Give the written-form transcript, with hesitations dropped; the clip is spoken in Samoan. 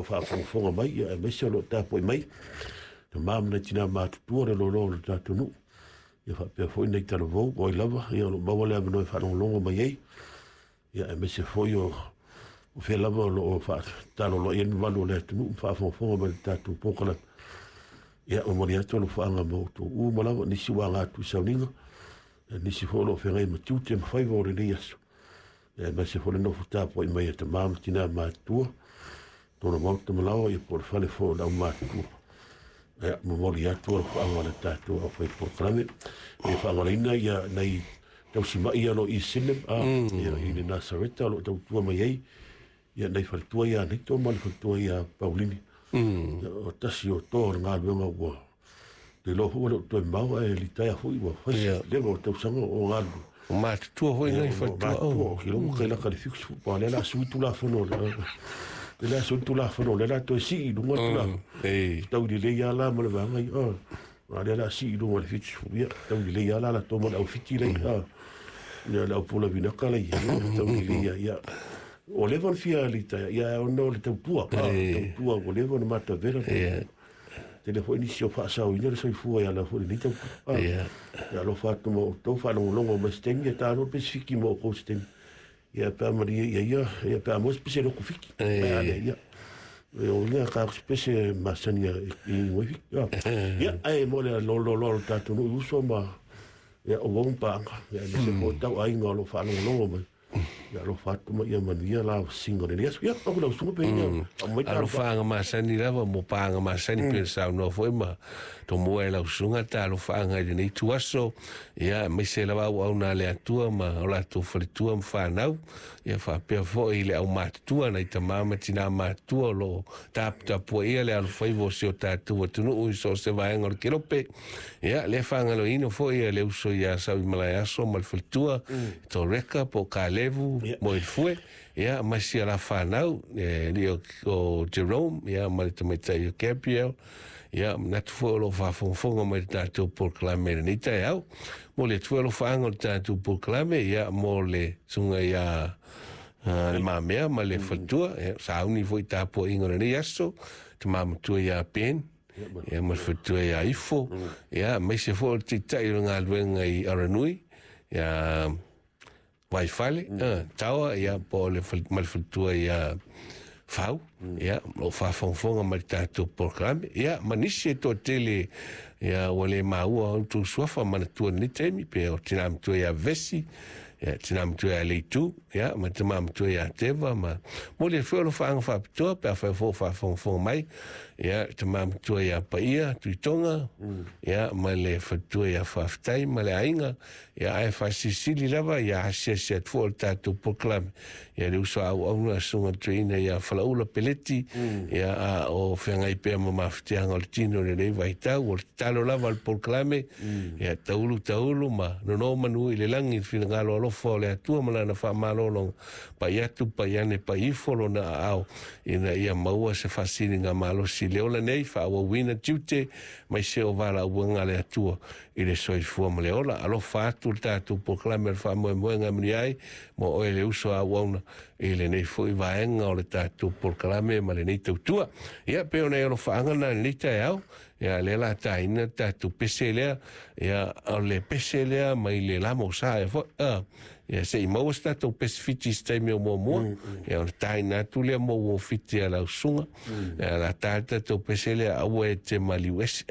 lau faafogafoga mai, ia aemaise o lo o tapuai mai tama ma nai tina matutua le lolo o le tatou nuu, ia faapea foi nai talavou o ai lava, ia o lo o maua le avanoa e faalogologo mai ai, ia aemaise foi o fea lava o lo o faataloloa i ai le mamalu o le atunuu ma faafogafoga mai i le tatou polokalame. Ia momoli atu alofaaga ma outou uma lava, nisi ua aga atu i sauniga, nisi foi o lo o feagai ma tiute ma faiva o lenei aso, ia aemaise foi le nofo tapuai mai a tama ma tina matutua, tona maota malaoa, ia po o le fale foi o le aumatutua. Ia momoli atu alofaaga o le tatou aufai polokalame. Ia faagalaina ia nai tausimai ia o lo o i Sinem, ia i le Nasareta o lo o tautua mai ai, ia nai faletua ia Nito ma le faletua ia Paulini. O tasi o toa o le galuega ua te iloa foi ua le o toe mamao ae litaea foi ua fai leva o tausaga o galulue. O matutua foi nai faletua. Matutua, o kilo ua kailaka le 70 pa lea la sui tulafono le la sui tulafono le la toe sii i luga le tulafono. Tau lelei lava la ma le vaega ia. A lea la sii i luga le 70, ia tau lelei lava la la toma le au fiti lei. Ia le au pula vinaka lei, tau lelei ia. Ia o leva ona fia litaea, ia ona o le tautua, tautua ua leva ona matavela. Tele foi nisi o faasaoina le soifua ia la foi lenei tautua. Ia alofa atu ma outou faalogologo mai se taimi, ia talo pe se fiki ma outou se taimi. Ia pe a malie ia ia, ia pe a maua se pese loku fiki. Pe a le ia. O ia ka se pese masani i ngoi fiki. Ia ai mo le lo lo lo tatou no uso ma ia o wong paanga. Ia aemaise foi tau aiga o lo faalogologo mai. Ia alofa atu ma ia manuia la singa le aso. Ia o lau sunga pe ia. Mai ta Alofaaga masani lava mo paaga masani pe saunoa foi ma tomua e lau susuga ta alofaaga i lenei tuaso, ia aemaise lava auauna a le Atua ma o latou faletua ma fanau, ia faapea foi i le aumatutua nai tama ma tina matutua o loo taputapuaia le alofaiva o si o tatou atunuu i so o se vaega o le kelope. Ia le faagaloina foi ia le uso ia Sauimalaeaso ma le faletua Toreka po o Kalevu mo i le fue, ia ma si ala fanau li o Jerome, ia ma le tamaitai o Gabriel, ia manatu foi o lo o faafogafoga mai le tatou polokalame i lenei taeao. Mo le atu foi alofaaga o le tatou polokalame, ia mo le susuga ia le Mamea ma le faletua, ia sauni foi tapuaiga o lenei aso, tama matua ia Ben, ia ma le faletua ia Ifo, ia aemaise foi o le taitai o le galuega i Aranui, ia Vaifale, Taoa, ia po o le ma le faletua ia Fau, ia o faafogafoga mai le tatou polokalame, ia ma nisi e toatele, ia ua le maua outou suafa manatua i lenei taimi, pe o tina matua ia Vesi, ia tina matua ia Leitu, ia ma tama matua ia Teva, ma mo le foi o alofaaga faapitoa pe afai foi o faafogafoga mai, ia tama matua ia Paia Tuitonga, ia ma le faletua ia Faafetai ma le aiga, ia ae faasilisili lava ia asiasi atu foi o le tatou polokalame, ia le uso auauna susuga tuina ia Falaula Peleti, ia a o feagai pea ma mafatiaga o le tino i lenei vaitau, o le tatalo lava o le polokalame, ia taulu taulu ma nono manu i le lagi i le finagalo alofa o le Atua ma lana faamalologa, pai atu pai ane pai ifo lona aao ina ia maua se faasiliga malosi i le ola nei, faaauauina tiute mai se o valaauga a le Atua i le soifua ma le ola. Alofa atu le tatou polokalame o le faamoemoega e manuia ai mo oe le uso auauna i lenei foi vaega o le tatou polokalame ma lenei tautua. Ia pe ona e alofaaga na lenei taeao, ia lea la taina le tatou pese lea, ia o le pese lea mai le lama o sa ia foi, ia se i maua se tatou pese fiti se taimi o muamua, ia ona taina atu lea mo ua fiti a lau susuga, ia la ta le tatou pese lea aua e te maliu ese,